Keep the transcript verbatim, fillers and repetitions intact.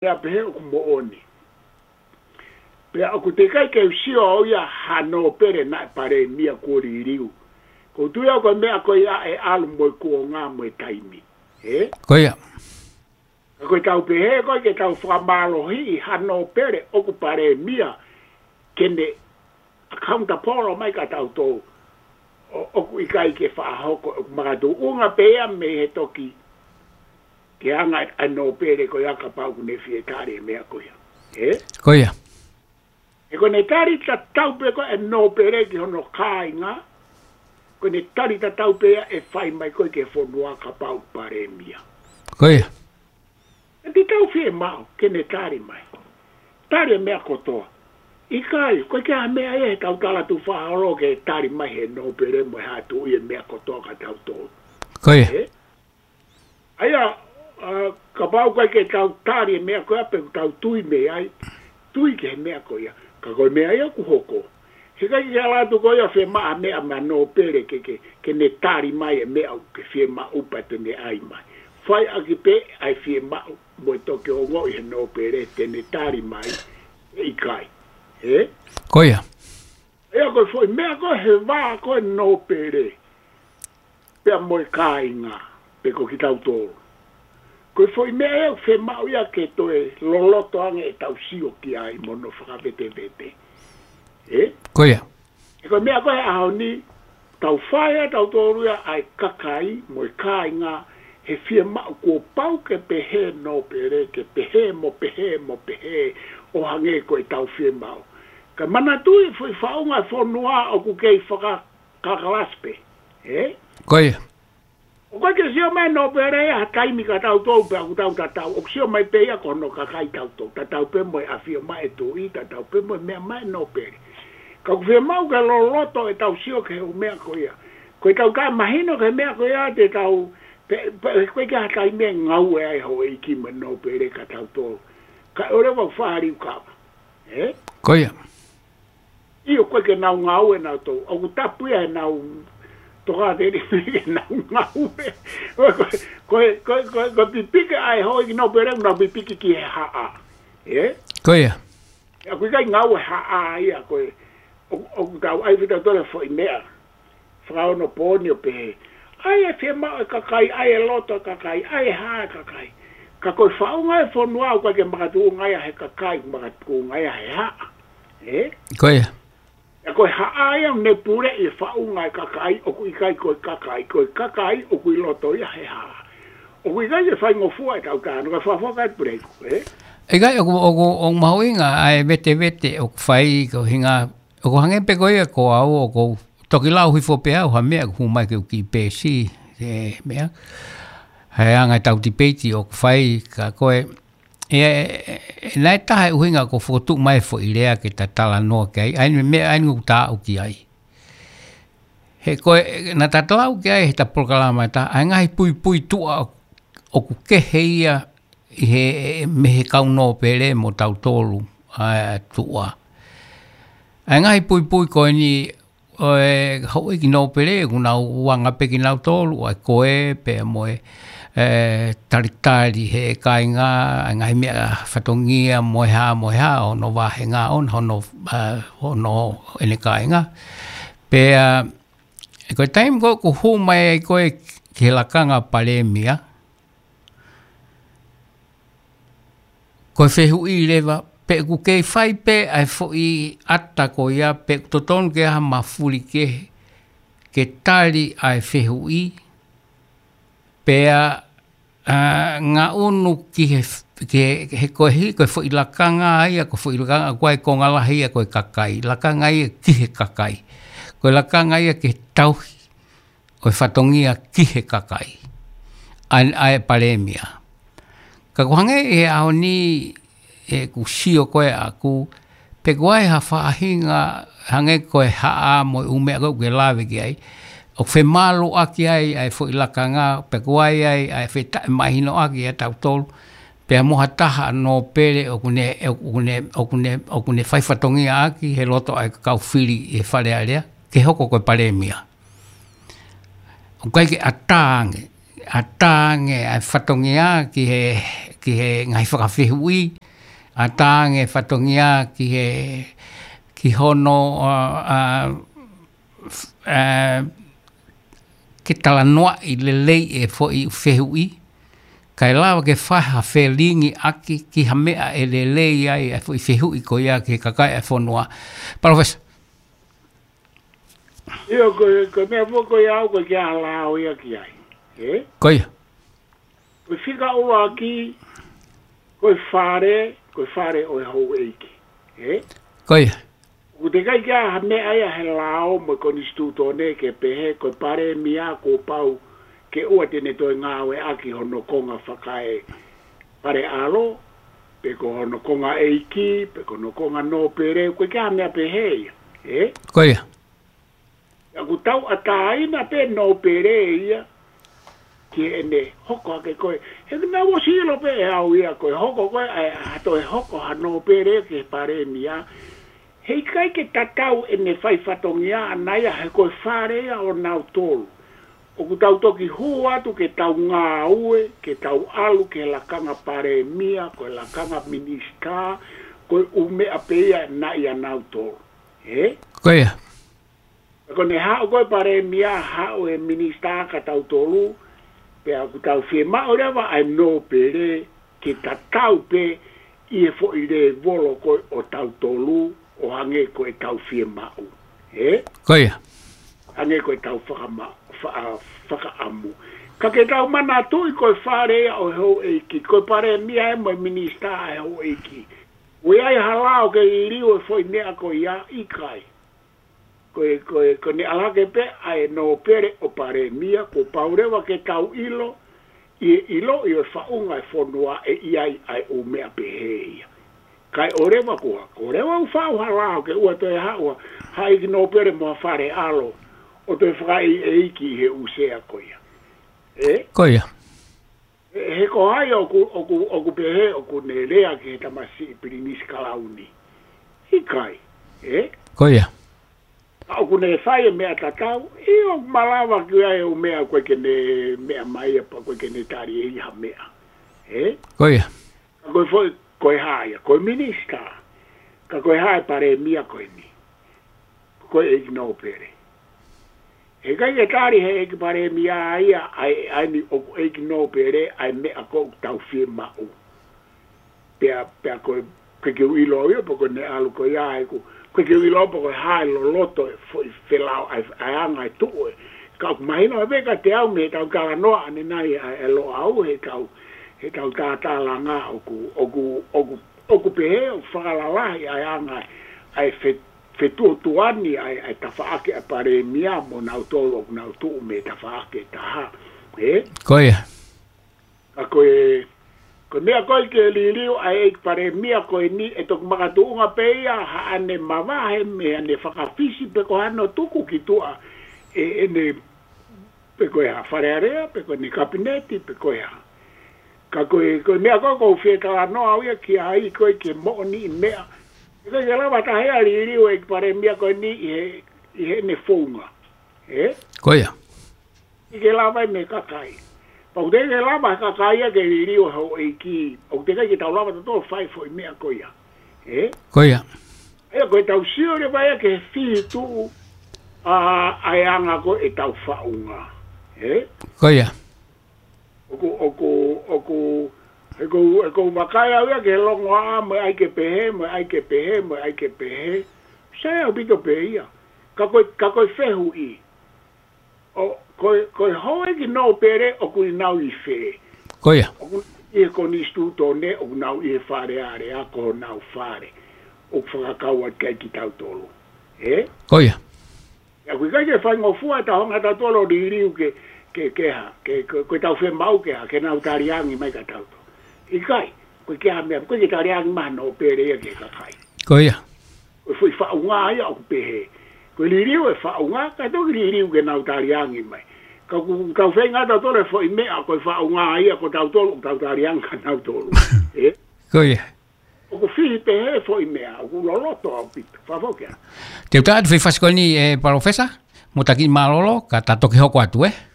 Pea pehē ʻoku moʻoni. Pea ʻoku teʻeki ai ke u sio au ia ha nōpele naʻe palēmia kuo liliu. Ko u tui au ko e meʻa ko ia ʻe ʻalu mo e kuonga mo e taimi. Ē? Ko ia. Ka ko e tau pehē ko e ke tau fakamālohiʻi ha nōpele ʻoku palēmia ke ne accountable mai kia tautolu. ʻO, ʻoku ʻikai ke fakahoko, ʻoku makatuʻunga pē ia mei he toki ke anga ʻa e nōpele ko ia kapau ʻoku ne fie tali e meʻa ko ia. Ē? Ko ia. He ko ʻene tali tatau pē ko e nōpele ki hono kāinga, ko ʻene tali tatau pē ia ʻe fai mai ko e ke fonua kapau palēmia. Ko ia. ʻE te tau fiemaʻu ke ne tali mai. Tali e meʻa kotoa. ʻIkai, ko e ke ha meʻa ia he tau tala tu faholo ke tali mai he nōpele mo e hatu i e meʻa kotoa kia tautolu. Ko ia. Ē? ʻA ia, ʻa, kapau ko e ke tau tali e meʻa ko ia pe ʻoku tau tui mei ai, tui ki he meʻa ko ia. Ka ko e meʻa ia ʻoku hoko. He ʻikai ke ala atu ko ia fiemaʻu ha meʻa mei he nōpele ke, ke, ke ne tali mai e meʻa ʻoku ke fiemaʻu pea te ne ʻai mai. Fai ʻaki pē ʻa e fiemaʻu mo e toki ongoʻi he nōpele te ne tali mai ʻe ʻikai. Ē? Ko ia. ʻA ia ko e foʻi meʻa ko e he vā ko e nōpele. Pea mo e kāinga, pe ko kitautolu. Ko e foʻi meʻa ʻe fiemaʻu ia ke toe loloto ange ʻetau sio ki ai mo hono fakavetevete. Ē? Ko ia. He ko e meʻa ko e he ʻaho ni, tau fai ʻa tautolu ia ʻa e kakai mo e kāinga, he fiemaʻu kuo pau ke pehē nōpele, ke pehē mo pehē mo pehē ʻo hangē ko e tau fiemaʻu. Ka manatuʻi foʻi faʻunga fonua ʻoku kei faka- kakalasi pē. Ē? Ko ia. ʻOku ʻikai ke sio mai nōpele ia ha taimi kia tautolu pea ʻoku tau tatau. ʻOku sio mai pē ia ko hono kakai tautolu. Tatau pē mo e ʻafio mai e tuʻi, tatau pē mo e meʻa mai nōpele. Ka ʻoku fiemaʻu ke loloto ʻetau sio ki he ʻū meʻa ko ia. Ko e tau taʻemahino ki he meʻa ko ia te tau, pe, pe, ko e ke ha taimi ʻe ngāue ai houʻeiki mo e nōpele kia tautolu. Ka ʻoua leva ʻo fāliu kava. Ē? Ko ia. ʻIo, ko e ke nau ngāue nautolu. ʻOku tapu ia he nau tokāteline ke nau ngāue. Ko, ko, ko, ko, ko pipiki ai houʻeiki nōpele, nau pipiki ki he haʻa. Ē? Ko ia. ʻOku ʻikai ngāue haʻa ia ko e, ʻo, ʻoku tau ʻai fita tole foʻi meʻa. Fakaonopooni ʻo pehē. ʻAi e fiemaʻu e kakai, ʻai e loto e kakai, ʻai e hā e kakai. Ka ko e faʻunga e fonua ʻoku ʻikai ke makatuʻunga ia he kakai, makatuʻunga ia he haʻa. Ē? Ko ia. ʻA ia ko e haʻa ia ʻoku ne puleʻi e faʻunga e kakai, ʻoku ʻikai ko e kakai, ko e kakai, ʻoku ʻi loto ia he haʻa. ʻOku ʻikai ke faingofua e tau tano, ka fakafoka e puleiku, ē? ʻIkai, ʻoku, ʻoku, ʻoku mahuʻinga ʻa e vetevete ʻoku fai ko hinga, ʻoku hangē pē ko ia ko au, ʻoku toki lau hifo pē au ha meʻa ʻoku hū mai ke u ki pēsi, e meʻa. He anga e tau tipeiti ʻoku fai ka ko e, e, e, e, naʻe taha e ʻuhinga ko e fokotuʻu mai e foʻi lea ke ta talanoa ki ai, ʻa eni meʻa, ʻa eni ʻoku ta aʻu ki ai. He ko e, naʻa ta talau ki ai he ta polokalama ta, ʻa e ngaahi puipui tuʻa ʻoku kehe ia ʻi he, mei he kau nōpele mo tautolu, ʻa e tuʻa. ʻA e ngaahi puipui ko eni ʻo e houʻeiki nōpele, ʻoku nau uanga pē kinautolu, ʻa e ko e, pea mo e, e, talitali he kāinga, ʻa e ngaahi meʻa fatongia, mo e hā, mo e hā, hono vāhenga ʻona, hono, e, hono ʻene kāinga. Pea, e ko e taimi ko ē ʻoku hū mai ai ko ē ki he lakanga palēmia, ko e fehuʻi leva, pe ʻoku kei fai pē ʻa e foʻi ʻata ko ia, pe ʻoku totonu ke ʻai ha mafuli kehe, ke tali ʻa e fehuʻi, pea, ʻa, ngaʻunu ki he, ki he, he ko e hā, ko e foʻi lakanga ia, ko e foʻi lakanga, ko e konga lahi ia, ko e kakai. Lakanga ia ki he kakai. Ko e lakanga ia ke tauhi ʻo e fatongia ki he kakai. ʻA e, ʻa e palēmia. Ka ʻoku hangē he ʻaho ni ʻeku sio ko ē ʻaʻaku, pe ʻoku ʻi ai ha faʻahinga hangē ko e haʻa mo e ʻū meʻa ko ē ʻoku ke lave ki ai. ʻOku femaluʻaki ai, ʻa e foʻi lakanga, pe ʻoku ʻi ai, ʻa e fetaʻemahinoʻaki ʻa tautolu. Pea mo ha taha nōpele ʻoku ne, ʻoku ne, ʻoku ne, ʻoku ne fai fatongia ʻaki he loto ʻa e kau fili ʻi he Fale Alea, ke hoko ko e palēmia. ʻOku ʻikai ke ʻatā ange. ʻatā ange ʻa e fatongia ki he, ki he ngaahi fakafehuʻi, ʻatā ange fatongia ki he, ki hono, ʻa, ʻa, ʻa, ke talanoaʻi lelei e foʻi fehuʻi, kae lava ke fai ha felingiʻaki ki ha meʻa ʻe lelei ai e foʻi fehuʻi ko ia ki he kakai e fonua. Palōfesa. ʻIo, ko, ko e meʻa foki ko ia au ko e ke ala au ia ki ai. Ē? Ko ia. Ko e fika ʻuluaki, ko e fale, ko e fale ʻo e houʻeiki. Ē? Ko ia. ʻOku teʻeki ai ke ʻi ai ha meʻa ia he lao mo e konisitūtone ke pehē ko e palēmia kuo pau ke ʻoua te ne toe ngāueʻaki hono konga fakaefale ʻalo, pe ko hono konga ʻeiki, pe ko hono konga nōpele, ʻoku ʻikai ke ʻi ai ha meʻa pehē ia. Ē? Ko ia. ʻOku tauʻatāina pē nōpele ia ki heʻene hoko hake ko ē. He naʻa ku ʻosi ʻilo pē ʻe au ia ko e hoko ko ē, ʻa e, ʻa e toe hoko ha nōpele ki he palēmia. Heʻikai ke tatau ʻene fai fatongia ʻana ia he ko e fale ia ʻo nautolu. ʻOku tau toki hū atu ke tau ngāue, ke tau ʻalu ki he lakanga palēmia, ko e lakanga minisitā, ko e ʻū meʻa pē ia naʻe ʻia nautolu. Ē? Ko ia. Ko ʻene haʻu ko ē palēmia, haʻu e minisitā kia tautolu, pea ʻoku tau fiemaʻu leva ʻa e nōpele ke tatau pē ʻi he foʻi lēvolo ko ē ʻo tautolu, ʻo hangē ko ʻetau fiemaʻu. Ē? Ko ia. Hangē ko ʻetau fakama-, fa-, fakaʻamu. Ka ke tau manatuʻi ko e fale ia ʻo e houʻeiki, ko e palēmia ē mo e minisitā ʻa e houʻeiki. ʻOku ʻi ai ha lao ke liliu e foʻi meʻa ko ia? ʻIkai. Ko e, ko e, ko ʻene ala hake pē ʻa e nōpele ʻo palēmia, kuo pau leva ke tau ʻilo, ʻi he ʻiloʻi ʻo e faʻunga e fonua ʻe ʻi ai ʻa e ʻū meʻa pehē ia. Kae ʻoua leva kuo, kuo leva ʻo faʻu ha lao ke ʻoua toe haʻu ha ʻeiki nōpele mo ha fale ʻalo ʻo toe fakaʻeiʻeiki ʻi he ʻū sea ko ia. Ē? Ko ia. He, he ko hai ʻoku, ʻoku, ʻoku pehē ʻoku ne lea ki he tamasiʻi Pilinisi Kalauni? ʻIkai. Ē? Ko ia. Ka ʻoku ne fai e meʻa tatau, ʻio, malava ki ai e ʻū meʻa ko ē ke ne meʻa mai ia pe ko ē ke ne tali ʻe ia ha meʻa. Ē? Ko ia. Ka ko e foʻi, ko e hā ia, ko e minisitā. Ka ko e hā e palēmia ko eni? Ko e ʻeiki nōpele. Heʻikai ke tali he ʻeiki palēmia ia ʻa e, ʻa eni ʻoku ʻeiki nōpele ʻa e meʻa ʻoku tau fiemaʻu. Pea, pea ko e, ko e ke u ʻilo au ia, pe ko ʻene ʻalu ko ia ʻeku, ko e ke u ʻilo au pe ko e hā e loloto e foʻi felao ʻa e, ʻa e anga e tuʻu ē. Ka ʻoku mahino ʻe pē kiate au mei heʻetau talanoa ʻanenai ʻa e Loʻau, heʻetau, heʻetau tātālanga ʻoku, ʻoku, ʻoku, ʻoku pehē ʻoku fakalalahi ʻa e anga ʻa e fe-, fetuotuani ʻa e, ʻa e tafaʻaki ʻa e palēmia mo nautolu ʻoku nau tuʻu mei he tafaʻaki ʻe taha. Ē? Ko ia. Ka ko e, ko e meʻa ko ē ke liliu ʻa e ʻeiki palēmia ko eni ʻe toki makatuʻunga pē ia haʻane mavahe mei haʻane fakafisi pe ko hano tuku ki tuʻa ʻe, ʻene, pe ko e hā, Fale Alea, pe ko ʻene kapineti, pe ko e hā. Ka ko e, ko e meʻa ko ē ʻoku ou fie talanoa au ia ki ai ko ē ke moʻoniʻi meʻa. ʻIkai ke lava taha ia liliu e ʻeiki palēmia ko eni ʻi he, ʻi heʻene founga. Ē? Ko ia. ʻIkai ke lava ia mei he kakai. Pea ʻoku teʻeki ke lava he kakai ia ke liliu e houʻeiki. ʻOku teʻeki ke tau lava tautolu fai foʻi meʻa ko ia. Ē? Ko ia. ʻA ia ko ʻetau sio leva ia ki he fihi tuʻu ʻa, ʻa e anga ko ē ʻetau faʻunga. Ē? Ko ia. ʻOku, ʻoku, ʻoku, he ʻoku ou, he ʻoku ou vakai au ia ki he longoaʻa mo e ʻai ke pehē, mo e ʻai ke pehē, mo e ʻai ke pehē. Sai ʻaupito pē ia. Ka ko e, ka ko e fehuʻi. ʻO, ko e, ko e houʻeiki nōpele ʻoku nau ʻi fē? Ko ia. ʻOku ʻi he konisitūtone, ʻoku nau ʻi he Fale Alea, ko honau fale. ʻOku fakakau atu ki ai kitautolu. Ē? Ko ia. ʻA ia ʻoku ʻikai ke faingofua ʻetau hanga tautolu ʻo liliu ke, ke, ke hā, ke, ko, ko ʻetau fiemaʻu ke hā, ke nau taliangi mai kia tautolu. ʻIkai, ʻoku ʻikai ke hā meʻa, ʻoku ʻikai ke taliangi mai ha nōpele ia ki he kakai. Ko ia. Ko e foʻi faʻunga ia ʻoku pehē. Ko e liliu e faʻunga, kae toki liliu ke nau taliangi mai. Ka ʻoku tau feinga tautolu he foʻi meʻa, ko e faʻunga ia, ko tautolu, ʻoku tau taliangi kia nautolu. Ē? Ko ia. ʻOku fihi pehē foʻi meʻa, ʻoku loloto ʻaupito. Fafau kia. Te u tā atu foʻi fasi ko eni ē Palōfesa, mo taki mālōlō, ka ta toki hoko atu ē.